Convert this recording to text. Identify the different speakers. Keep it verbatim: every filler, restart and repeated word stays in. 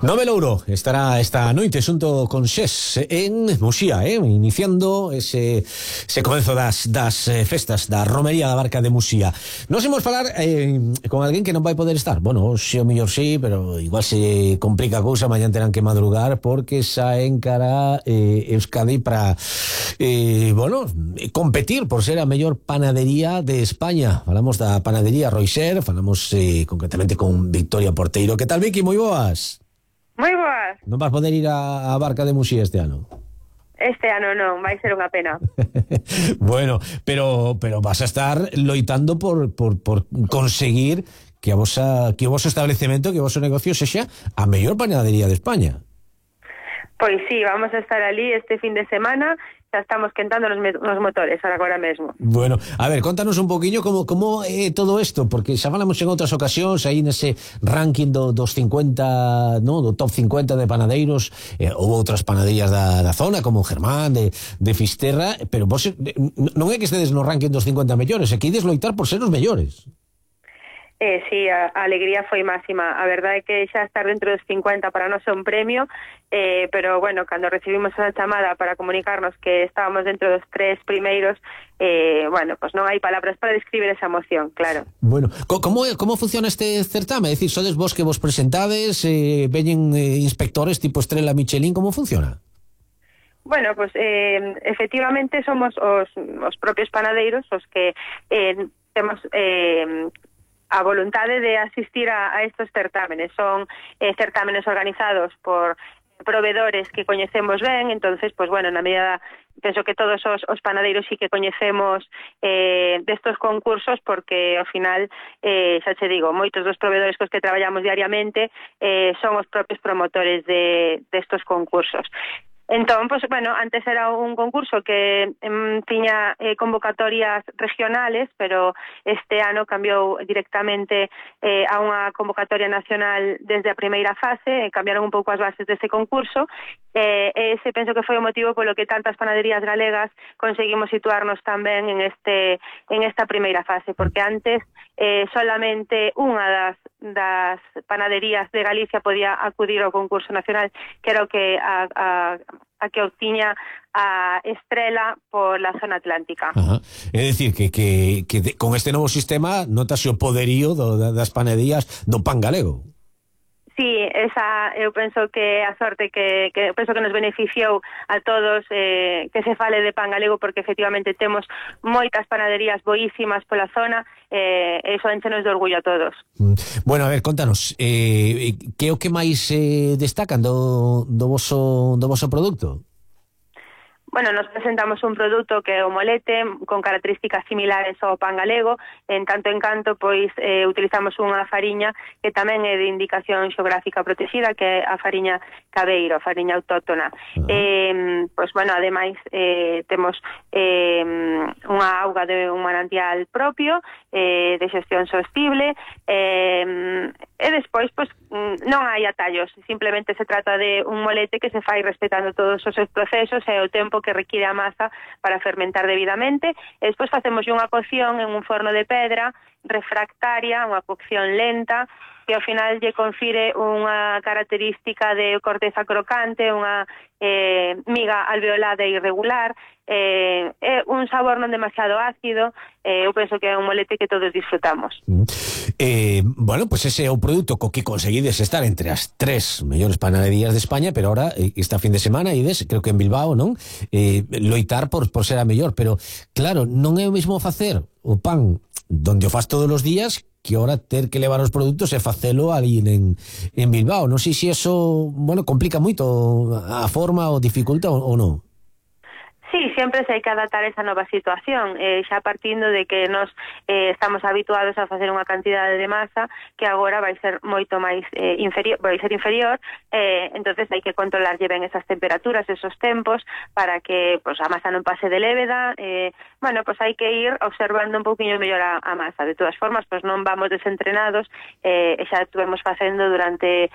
Speaker 1: Nove Louro estará esta noite xunto con Xés en Muxía, eh? Iniciando ese, ese comenzo das, das eh, festas da Romería da Barca de Muxía. Nos imos falar eh, con alguén que non vai poder estar. Bueno, xe o mellor sí, pero igual se complica a cousa, mañan terán que madrugar porque xa encara eh, Euskadi para eh, bueno, competir por ser a mellor panadería de España. Falamos da panadería Roixer, falamos eh, concretamente con Victoria Porteiro. Que tal, Vicky? Moi boas.
Speaker 2: Moi boas.
Speaker 1: Non vas poder ir a, a Barca de Muxía este ano?
Speaker 2: Este ano non, vai ser unha pena.
Speaker 1: Bueno, pero pero vas a estar loitando por, por, por conseguir que a vosa, que o voso establecemento, que o voso negocio sexa a mellor panadería de España.
Speaker 2: Pois sí, vamos a estar ali este fin de semana. Ya estamos quentando los, los motores agora mesmo.
Speaker 1: Bueno, a ver, contanos un poquinho como, como é todo isto, porque xa falamos en outras ocasións aí nese ranking do, dos cincuenta, no, do top cincuenta de panadeiros, eh, houve outras panaderías da, da zona como Germán, de, de Fisterra, pero vos non é que estedes no ranking dos cincuenta mellores, é que ides loitar por ser os mellores.
Speaker 2: Eh, sí, a, a alegría foi máxima. A verdade é que xa estar dentro dos cincuenta para nós é un premio, eh, pero bueno, cando recibimos a chamada para comunicarnos que estábamos dentro dos tres primeiros, eh, bueno, pues non hai palabras para describir esa emoción, claro.
Speaker 1: Bueno, como, como funciona este certame? É dicir, sodes vos que vos presentades, eh, veñen eh, inspectores tipo Estrela Michelin, como funciona?
Speaker 2: Bueno, pues eh, efectivamente somos os, os propios panadeiros os que eh, temos... Eh, a voluntade de asistir a, a estos certámenes. Son eh, certámenes organizados por proveedores que coñecemos ben, entonces, pues bueno, na medida, penso que todos os, os panaderos sí que coñecemos eh, destos concursos, porque ao final, eh, xa che digo, moitos dos proveedores cos que traballamos diariamente eh, son os propios promotores de destos concursos. Entón, pues, bueno, antes era un concurso que em, tiña eh, convocatorias regionales, pero este ano cambiou directamente eh, a unha convocatoria nacional desde a primeira fase, eh, cambiaron un pouco as bases dese concurso, eh, ese penso que foi o motivo polo que tantas panaderías galegas conseguimos situarnos tamén en este en esta primeira fase, porque antes eh, solamente unha das, das panaderías de Galicia podía acudir ao concurso nacional, que era o que a, a a que obtiña a Estrela por la zona atlántica.
Speaker 1: Ajá. É dicir, que, que, que de, con este novo sistema notase o poderío do, das panaderías do pan galego.
Speaker 2: Sí, esa eu penso que a sorte que, que penso que nos beneficiou a todos eh, que se fale de pan galego, porque efectivamente temos moitas panaderías boísimas pola zona, eh, e iso enchenos de orgullo a todos.
Speaker 1: Bueno, a ver, contanos, eh, que é o que máis eh, destacan do, do, voso, do voso produto?
Speaker 2: Bueno, nos presentamos un produto que é o molete, con características similares ao pan galego. En tanto en canto, pois, eh, utilizamos unha fariña que tamén é de indicación xeográfica protegida, que é a fariña cabeiro, a fariña autóctona. Uh-huh. eh, pois, bueno, ademais, eh, temos eh, unha auga de un manantial propio, eh, de xestión sostible, eh, e despois, pois, non hai atallos, simplemente se trata de un molete que se fai respetando todos os seus procesos e o tempo que require a masa para fermentar debidamente, e despois facemos unha cocción en un forno de pedra refractaria, unha cocción lenta, que ao final lle confire unha característica de corteza crocante, unha eh, miga alveolada e irregular, eh, é un sabor non demasiado ácido, eh, eu penso que é un molete que todos disfrutamos.
Speaker 1: Mm. Eh, bueno, pues ese é o produto co que conseguides estar entre as tres mellores panaderías de España, pero ahora, esta fin de semana, ides, creo que en Bilbao, non? Eh, loitar por, por ser a mellor, pero claro, non é o mesmo facer o pan donde o faz todos os días que ahora ter que levar os produtos e facelo ali en, en Bilbao. Non sei se eso, bueno, complica moito a forma ou dificulta ou, ou non.
Speaker 2: Sí, sempre se hai que adaptar esa nova situación, eh, xa partindo de que nos eh, estamos habituados a facer unha cantidade de masa que agora vai ser moito máis eh, inferior, vai ser inferior, eh, entonces hai que controlarlle ben esas temperaturas, esos tempos, para que pues, a masa non pase de léveda, eh, bueno, pues hai que ir observando un pouquiño mellor a, a masa. De todas formas, pues non vamos desentrenados, eh, e xa estuvemos facendo durante